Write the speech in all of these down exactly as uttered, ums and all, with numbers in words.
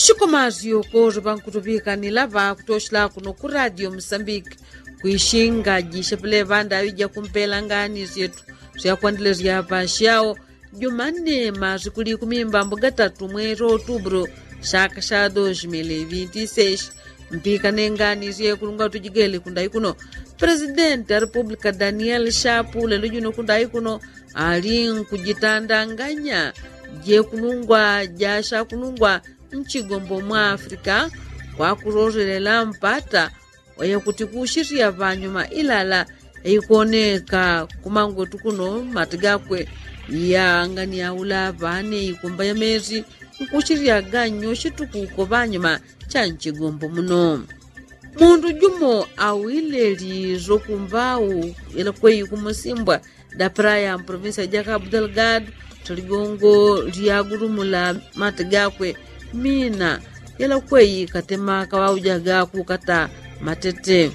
Shikomazi yokozo pankutupika ni lava kutoshela kuno ku radio musambiki. Kwishinga jishepele panda awija kumpela ngani syetu syakwanile syapa syao. Jumanne masikuli kumimba mbuga tatu mwezi wa otubro syaka sya dos mili vinti seis. Mpika nengani syekulungwa tujigele kundai kuno. Presidenti a republika daniel shapu lelo juno kundai kuno ali nkujitandanganya jekulungwa jasyakulungwa nchigombo mwa afrika. Kwakulolelela mpata oyo kuti kushirya panyuma ilala eikoneka kumangwetu kuno mati gakwe. Yangani aula pane ikumba ya mezi nkushirya ganyo shitukuko panyuma cha nchigombo muno. Mundu jumo awile lizo kumbau ila kwei kumusimbwa dapra ya mprovinsia ja kabu delgado. Toligongo lyagulumula mati gakwe mina ila kwei katema kawaujaga kukata matete.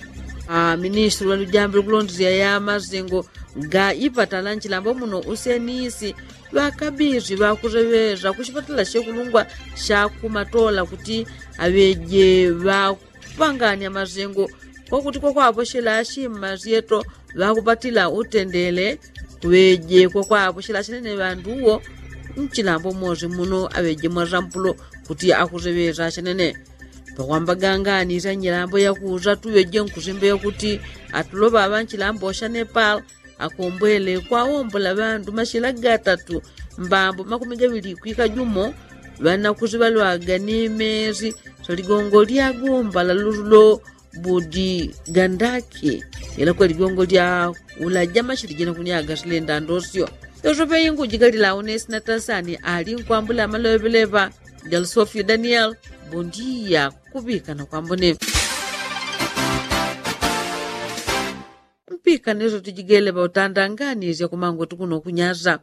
Ministri wa lujambi lukulondelya ya mazengo ga ipatala nchilambo muno usenisi ŵakabiri ŵakuseŵeza kushipatala shekulungwa shakumatola kuti aŵeje ŵakupanganya mazengo kwakuti kwakwaposhela ashima syeto ŵakupatila utendele. Kuŵeje kwakwaposhela ashenene ŵandu uwo nchilambo mosi muno aŵeje mwasampulo kuti akuseŵeza ashenene. Pakwambaga ngani sya nyilambo yakusa tuŵeje nkusimba yakuti atuloŵa ŵa nchilambo sha nepal akombwele kwawombola ŵandu mashila gatatu mbambo makumi gaŵili kwika jumo. Ŵanakusi ŵalwaga ni mesi sya ligongo lya gumba la lululo budi gandaki. Ila kwe ligongo lya ulaja mashili jina kunyaga silenda ndosyo. Yosepe ingujigalila unesi na tasani ali nkwambula amaloŵeleŵa. Jalsofio daniel. Bundiya kuŵika na kwambone. Mpika neso tujigele ŵautandanganisya kumangwetu kuno kunyasa.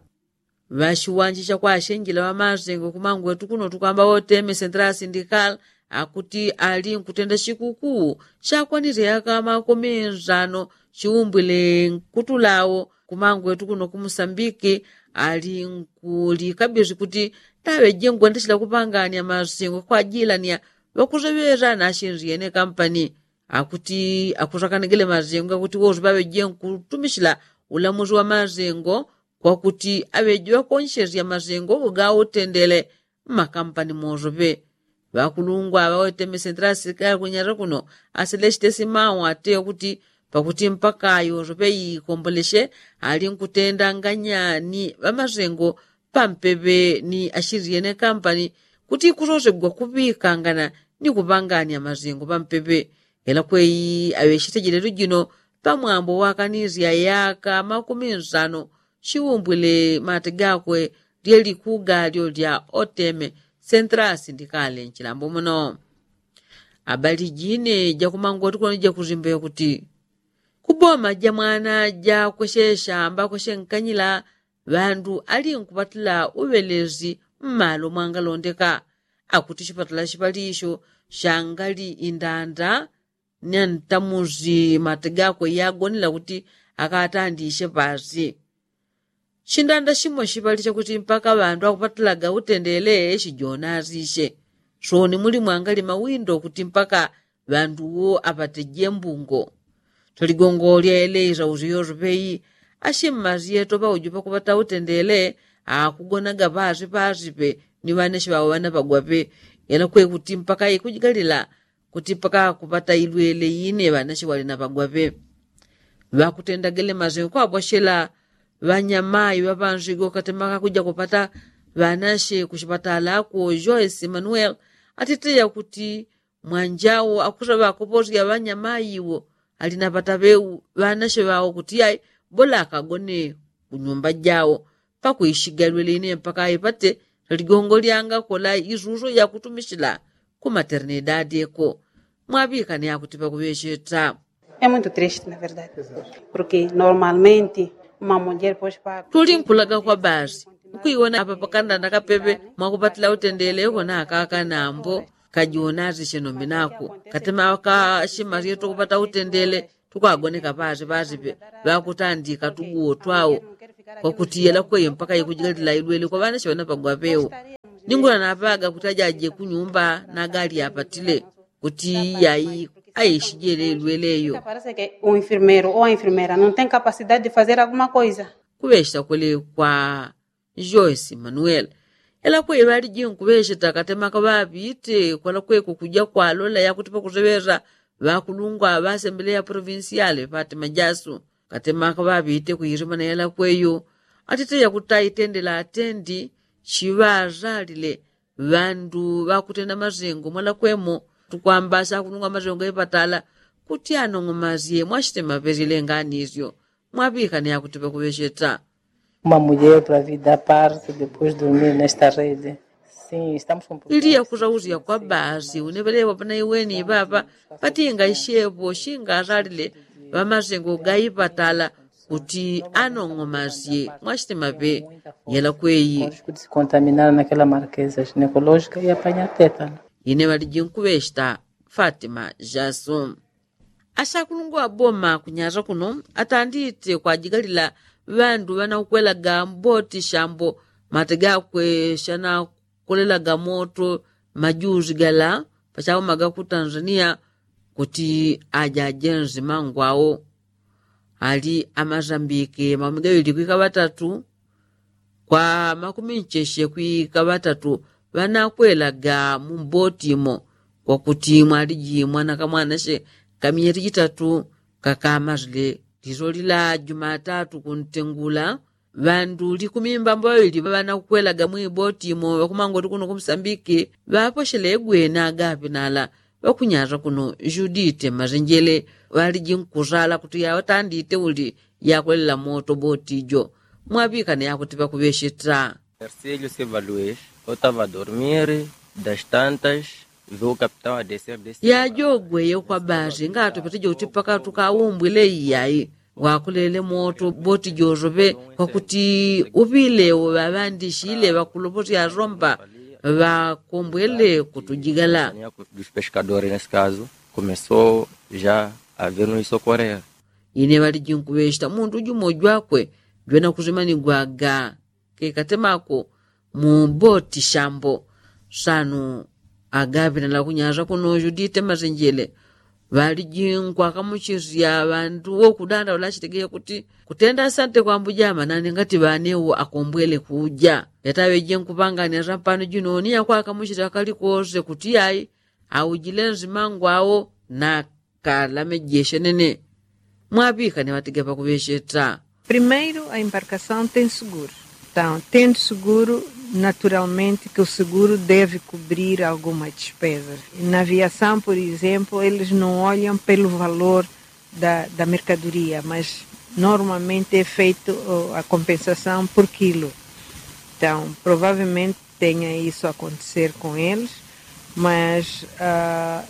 Ŵashiwanji shakwashenjela ŵamasengo kumangwetu kuno tukwamba ŵauteme sentrala sindikala akuti ali nkutenda shikukuu shakwanisya yaka makumi nsano shiumbwile nkutulao. Kumangwetu kuno kumusambiki ali nkulikabisi kuti taŵeje ngwendeshela kupanganya masengo kwajilania ŵakuseŵeza nashinzi yene kampani. Akuti akusakanagile mazengo gakuti wosi ŵaŵeje nkutumishila ulamusi wa mazengo kwakuti aŵeje ŵakonyeshesya mazengo gautendele mmakampani mosope. Ŵakulungwa ŵawetemesentela asilikali kunyasa kuno aselesite simau ateya kuti pakuti mpaka yosope ikomboleshe ali nkutendanganya ni ŵamazengo pampepe ni ashiriyene kampani kuti ikusosegwa kuŵikangana ni kupangania mazengo pampepe. Ela kwei aŵeshite jilelo jino pamwambo wakanisya yaka makumi nsano shiumbwile mate gakwe lye likuga lyo lya oteme sentrala sindikale nchilambo muno. Abali jine jakumangoti kuno jakusimba yakuti kuboma ja mwana jakweshesha amba kweshenkanyila ŵandu ali nkupatila uŵelezi mmalo mwangalondeka. Akuti shipatala shipalisho shangali indanda ni antamusi mate gakwe yagonela kuti akatandishe pasi. Shindanda shimo shipalisha kuti mpaka ŵandu akupatilaga utendele shijonasishe. Soni muli mwangali mawindo kuti mpaka ŵandu wo apateje mbungo. Toligongo lyaeleisa usiyoso peyi ashimmasi yeto paujo pakupata utendele akugonaga pasi pasi pe ni ŵaneshi ŵawo ŵanapagwa pe. Ela kwekuti mpaka ikujigalila kuti mpaka kupata ilwele ine ŵanashi walinapagwa pe. Ŵakutendagele masengo kwabwashela ŵanyamayi ŵapansigo katemaka kuja kupata ŵanashi kushipatala ako joyce emanuel. Atiteya kuti mwanjawo akusa ŵakoposya ŵanyamayi wo alinapata ŵeu ŵanashi ŵawo kuti ai bola akagone kunyumba jawo. Pakuishigalwele ine mpaka aipate ligongo lyangakola isuso yakutumishila ku maternidadi eko. Mwaŵikane akuti pakuŵecheta. Emuntu triste na verdade. Porke normalmente uma mulher pos parto tuli nkulaga kwa basi nkuiwona apa pakanda na kapepe mwakupatila utendele eko na akaka nambo. Kajiwona azishe nombi nako katema akashima lyetu kupata utendele tukwagoneka pasi pasi pe ŵakutandika tuguwo twawo. Kwakutiyela kweyo mpaka ikujigalila ilwele kwa ŵanashi ŵanapagwa ŵeu. Ningula napaga kuti ajaje kunyumba nagali apatile kuti yai aishijele lweleyo. Parece que un enfermeiro ou a enfermeira não tem capacidade de fazer alguma coisa. Kuŵechita kwele kwa joyce manuel. Ela kwe ŵaliji nkuŵechita katemaka ŵapite kwala kweko kuja kwalola yakuti pakuseŵeza ŵakulungwa ŵasembeleya provinciale pati majasu. Katemaka ŵapite kuirimana ela kweyo atite yakuti aitendela atendi chiŵazalile ŵandu ŵakutenda mazengo mwalakwemo tukwamba sakunungwa mazengo gaipatala kuti anong'omasye mwachite maŵelile nganisyo. Mwaŵikane yakuti ŵakuŵecheta. Uma mulher para vida parte depois dormir nesta rede. Sim, estamos com ili yakuzauzya kwa basi uneŵelewa panaiweni ipapa patinga ishepo shingasalile ŵamazengo gaipatala kuti anong'omasye mwachite maŵe. Yela kweyi. Contaminar naquela marqueza ginecológica e apanhar tétano. Ine ŵaliji nkuŵechita fatima jasu. Asakulungwa ŵaboma kunyasa kuno atandite kwajigalila ŵandu ŵanakwelaga mboti shambo mate gakwe shanakolelaga moto majuzi gala pachauma gaku tanzania kuti ajajenzi mangwao. Ali amazambike makumi gaŵili kwika ŵatatu kwa makumi ncheshe kwika ŵatatu ŵanakwelaga mu mboti imo kwakuti mwaliji mwana kamwanashe kamiyeti jitatu kakamazile. Liso lila jumatatu kuntengula ŵandu likumi mbambo ŵaŵili ŵanakwelaga mu iboti imo ŵakumangoti kuno kumusambiki ŵaposhelegwe na agapi nala ŵakunyasa kuno judite mazenjele. Ŵaliji nkusala kuti yaŵatandite uli yakolela moto boti jo mwaŵikane yakuti ŵakuŵecheta. Ercílio siva luis otava dormir das tantas viu o capitão a descer desse yajogwe yokwa basi ngatupete jo kuti paka tukaumbwile iyai wakolele moto boti josoŵe kwakuti uŵilewo ŵaŵandishile ŵakuloposya asomba ŵakombwele kutujigala. Dos pescadores nesse caso começou já a ver no isocorrer. Ine ŵaliji nkuŵecheta mundu jumo jwakwe jwena kusimanigwaga kekatemako mu boti shambo. Sanu agaŵinala kunyasa kuno judite masenjele ŵaliji nkwakamuchisya ŵandu wokudandaula achitegeye kuti kutenda asante kwambuja amanani ngati ŵanewo akombwele kuja. Yataŵeje nkupangania sampano jino ni yakwakamuchisya kalikose kuti yai aujile nzima ngwao na kalamejeshe nene. Mwaŵikane ŵatige pakuŵecheta. Primeiro a embarcação tem seguro. Então tendo seguro naturalmente que o seguro deve cobrir alguma despesa. Na aviação por exemplo eles não olham pelo valor da mercadoria mas normalmente é feito a compensação por quilo. Então provavelmente tenha isso acontecer com eles mas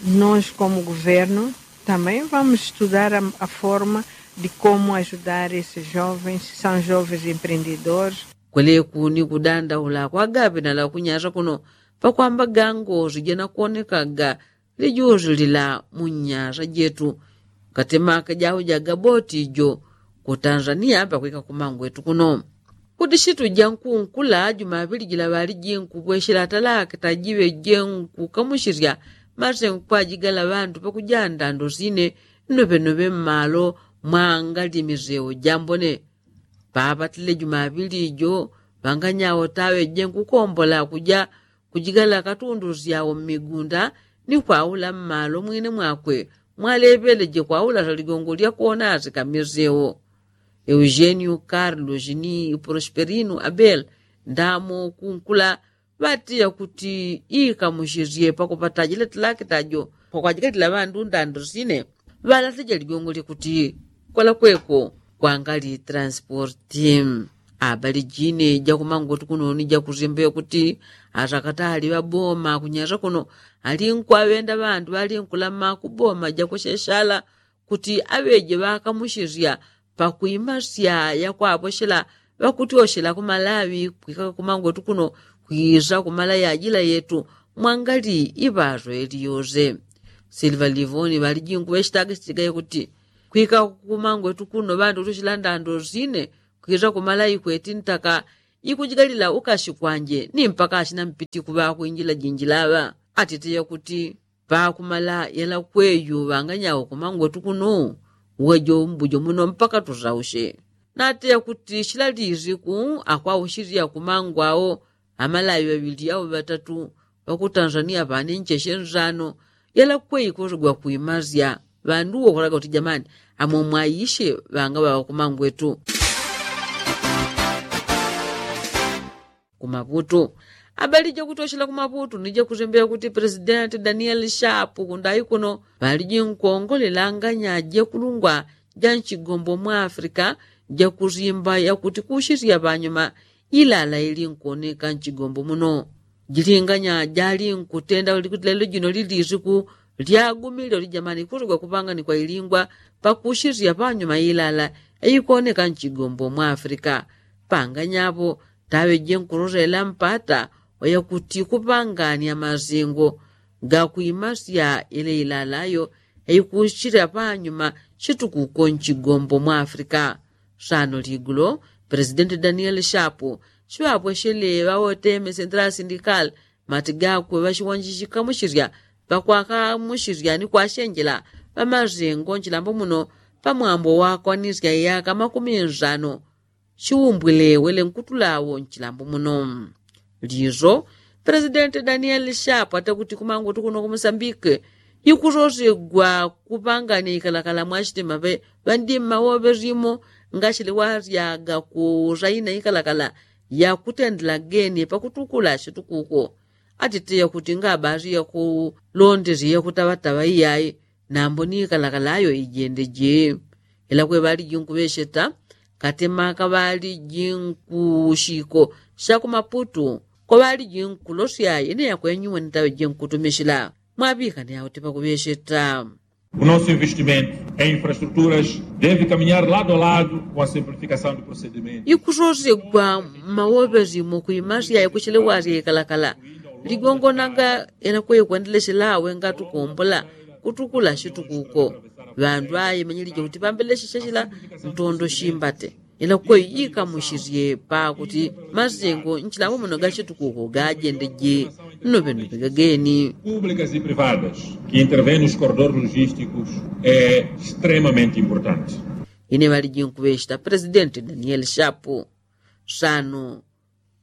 nós como governo também vamos estudar a forma de como ajudar esses jovens são jovens empreendedores. Kweleku ni kudandaula kwagaŵinala kunyasa kuno pakwamba gango sijanakuonekaga lijusi lila mu nyasa jetu. Katemaka jaujaga boti jo ku tanzania pakwika kumangwetu kuno. Kuti situ jankunkula jumaŵili jila ŵaliji nkupweshela talakita jiŵe jenkukamusisya masengo kwajigala ŵandu pakuja ndando sine nnoŵenoŵe mmalo mwangali miseo jambone. Papatile jumaŵili jo ŵanganyao taŵeje nkukombola kuja kujigala katundu syao mmigunda ni kwaula mmalo mwine mwakwe mwaleŵeleje kwaula saligongo lyakuona asikamisewo. Eugenio carlos ni prosperino abel ndamo kunkula ŵatiya kuti ikamusisye pakupata jila talakita jo pakwajikatila ŵandu ndando sine. Ŵalateja ligongo lyakuti kwalakweko kwangali transporti. Abali jine jakumangwetu kunoni jakusimbe kuti asakatali ŵaboma kunyasa kuno ali nkwaŵenda ŵandu ŵali nkulama kuboma jakuseshala kuti aŵeje ŵakamusisya pakwimasya yakwaposhela ŵakutyoshela kumalawi kwika kumangwetu kuno kwisa kumala yajila yetu mwangali iŵaso eliyose. Silva livoni ŵaliji nkuŵechitaga chitigaye kuti kwika kumangwetu kuno ŵandu kutyoshela ndando sine kwisa kumala ikweti ntaka ikujigalila ukashi kwanje ni mpaka ashina mpiti kuŵa kwinjila jinjila ŵa. Atite yakuti pakumala yela kweyu ŵanganyawo kumangwetu kunu uwejo mbujo muno mpaka tuzaushe. Nate yakuti shila liziku akwaushilia kumangwawo amalawi ŵaŵili au ŵatatu ŵakutanzania ŵane ncheshe nzano yela kweyi kuzigwa kuimasya ŵandu uwo kulaga kuti jamani amwe mwaishe ŵanga ŵaŵa kumangwetu. Kumaputu. Abali jakutoshela kumaputu ni jakuzembela kuti presidenti danieli shapu kundai kuno ŵaliji nkongolela nganya jekulungwa ja nchigombo mwa afrika jakuzimba yakuti kushisya ŵanyuma ilala ili nkuoneka nchigombo muno. Jilinganya jali nkutenda ulikuti lelo jino lilisiku lyagumile ulijamani kusogwa kupangani kwa ilingwa pakushisya ŵanyuma ilala eikuoneka nchigombo mwa afrika. Panganyapo taŵe jenkulosela mpata oyakuti kupangania masingo gakuimasya ile ilalayo eikushila panyuma shitukuko nchigombo mwa afrika. Sano ligulo presidenti danieli shapu shiŵapweshele ŵawoteme sentrali sindikali mati gakwe ŵashiwanjishikamushilya ŵakwakamushilya ni kwashenjela ŵamasingo nchilambo muno pamwambo wakwanisya iyaka makumi nsano shiumbwile wele nkutulawo nchilambo muno. Liso presidenti danieli shapu atakuti kumangutu kuno kumusambike ikusosegwa kupangania ikalakala mwashitima ŵe ŵandima woŵe limo ngashile wasyaga kusaina ikalakala yakutendela geni pakutukula shitukuko. Atiteya kuti ngabasi yakulondesye yakutaŵataŵa iyai nambo ni ikalakala ayo ijende je. Ila kwe ŵaliji nkuŵesheta katema kaŵaliji nkushiko shakumaputu kwaŵaliji nkulosya ine yakwenyuwe nitaŵeje nkutumishila. Mwaŵikane auti pakuŵesheta. O nosso investimento em infraestruturas deve caminhar lado a lado com a simplificação do procedimento. Ikusosegwa mawoŵesimo kuimasya ikuchilewasya ikalakala ligongonaga ila kwe ikwendelesela awe ngatukombola kutukula shitukuko. Ŵandu aye manyilije kuti pambeleshe shashila ntondo shimbate ila kwe ikamushisye pakuti masengo nchilambo muno gashitukuko gajendeje nnoŵennoŵe gageni. Públicas e privadas que intervem nos corredores logísticos é extremamente importante. Ine ŵaliji nkuŵesheta presidenti danieli shapu sano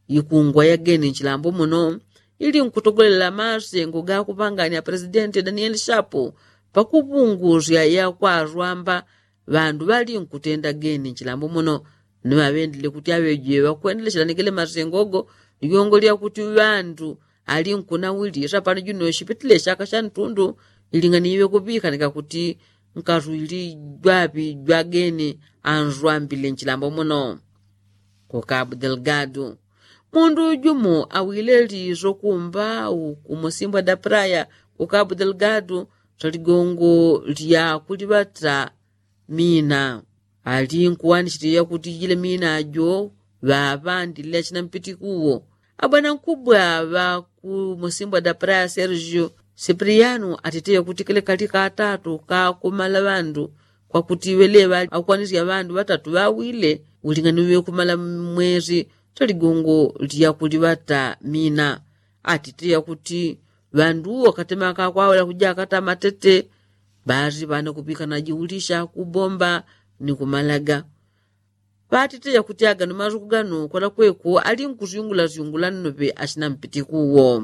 ikungwa yageni nchilambo muno ili nkutogolela masengo gakupangania presidenti danieli shapu pakupungusya yakwaswamba ŵandu ŵali nkutenda geni nchilambo muno. Ni ŵaŵendile kuti aŵeje ŵakwendeleshelanigele masengo go ligongo lyakuti ŵandu ali nkunawili sapano juno shipitile shaka shantundu iling'aniwe kuŵikanika kuti nkaswili jwaŵi jwageni answambile nchilambo muno. Ku kabu delgado mundu jumo awile liso kumba uku musimbwa da praya ku kabu delgado saligongo lya kuliŵata mina. Ali nkuwanishilila kuti jile mina jo ŵaŵandile achina mpitikuwo. Abwana nkubwa ŵa ku musimbwa da praya sergio sipriano atiteya kuti kele kali katatu kakumala ŵandu kwakuti ŵeleŵa akukwanisya ŵandu ŵatatu ŵawile uling'aniwe kumala mwesi. Taligongo lya kuliŵata mina atiteya kuti ŵandu uwo katema kakwawela kuja akata matete. Ŵasi ŵane kuŵikana jiulisha kubomba ni kumalaga. Ŵatiteya kuti agano masuku gano kwelakweko ali nkusyungulasyungula nnoŵe achina mpitikuwo.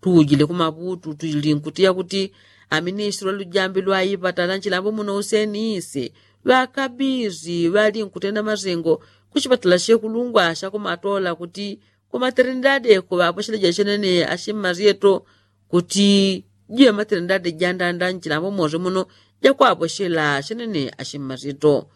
Tujile kumaŵutu tujili nkutiya kuti aministili ŵa lujambi lwa ipatala nchilambo muno useni ise ŵakabisi ŵali nkutenda masengo kuchipatala shekulungwa shakumatola kuti kumaterinidadi eko ŵaposheleje achenene achimmasyeto kuti jiŵe materinidadi jandanda nchilambo mose muno jakwaposhela achenene achimmasyeto.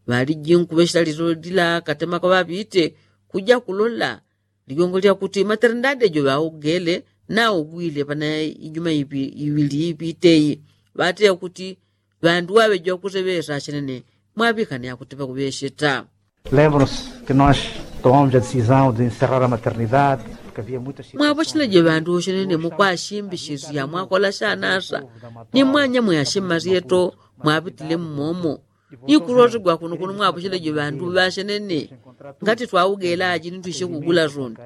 Ŵaliji nkuŵeshela liso lila katema kaŵaŵite kuja kulola ligongo lyakuti materinidadi jo ŵaugele naugwile pana ijuma iŵili iŵiteyi. Ŵateya kuti ŵandu ŵaŵeje ŵakuseŵesa achenene. Mwaŵikane akuti ŵakuŵesheta. Lembro se que nós tomamos a decisão de encerrar a maternidade porque havia muitas mwapocheleje ŵandu achenene mukwashimbishisya mwakola shanasa ni mwanyamwe achimmasyeto. Mwapitile mmomo Ikurotegwa kuno kuno mwapocheleje ŵandu ŵasenene. Ngati twaugela aji nitwishe kugula soni.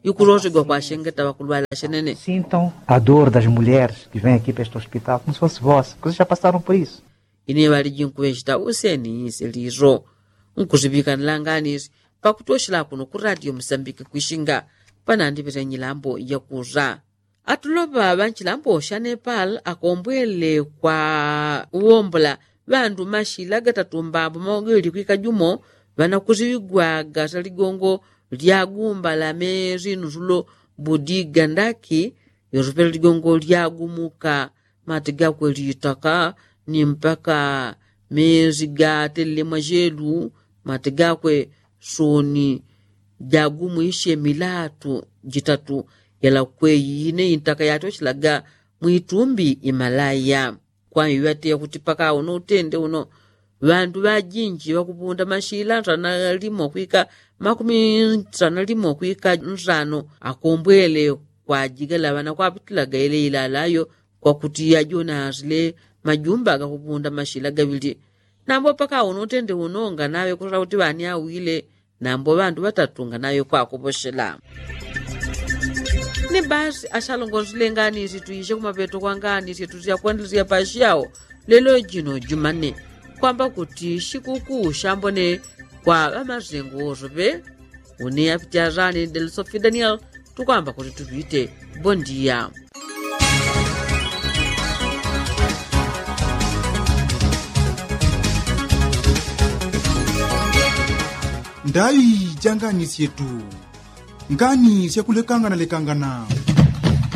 Ikurotegwa kwashengeta ŵakulwala senene. Sintam a dor das mulheres que vem aqui para este hospital como se fosse vossa, vocês já passaram por isso. Ine ŵaliji nkuŵechita useni ise liro nkusiŵikanila nganisi pakutoshela kuno ku radio musambiki kwishinga panandiŵile nyilambo yakusa. Atuloŵa ŵa nchilambo sha nepal akombwele kwa uwombola ŵandu mashila gatatu mbambo maogeli kwika jumo ŵanakusiŵigwaga saligongo lya gumba la mezi nusulo budiga ndaki. Yosopela ligongo lyagumuka mati gakwe litaka ni mpaka mezi gatelele mwajelu. Mati gakwe soni jagumwishe milatu jitatu yalakwe yine intaka yatoshelaga mwitumbi imalaya. Kwaiŵate yakuti paka uno utende uno ŵandu ŵajinji ŵakupunda mashila nsana limo kwika makumi nsana limo kwika nsano akombwele kwajigala ŵanakwapitilaga ile ilalayo kwakuti yajonasile majumba gakupunda mashila gaŵili. Nambo paka uno utende uno nganaŵe kusala kuti ŵani awile nambo ŵandu ŵatatu nganaŵe kwakoposhela. Ni basi ashalongosile nganisi tuishe kumapeto kwa nganisi tusyakwandilisya pashiyao lelo jino jumane kwamba kuti shikukuu shambone kwa ŵamasengo wosope. Une apiti azani delisofi daniel tukwamba kuti tupite. Bondia. Ndai janganisye tu ngani syakulekangana lekangana.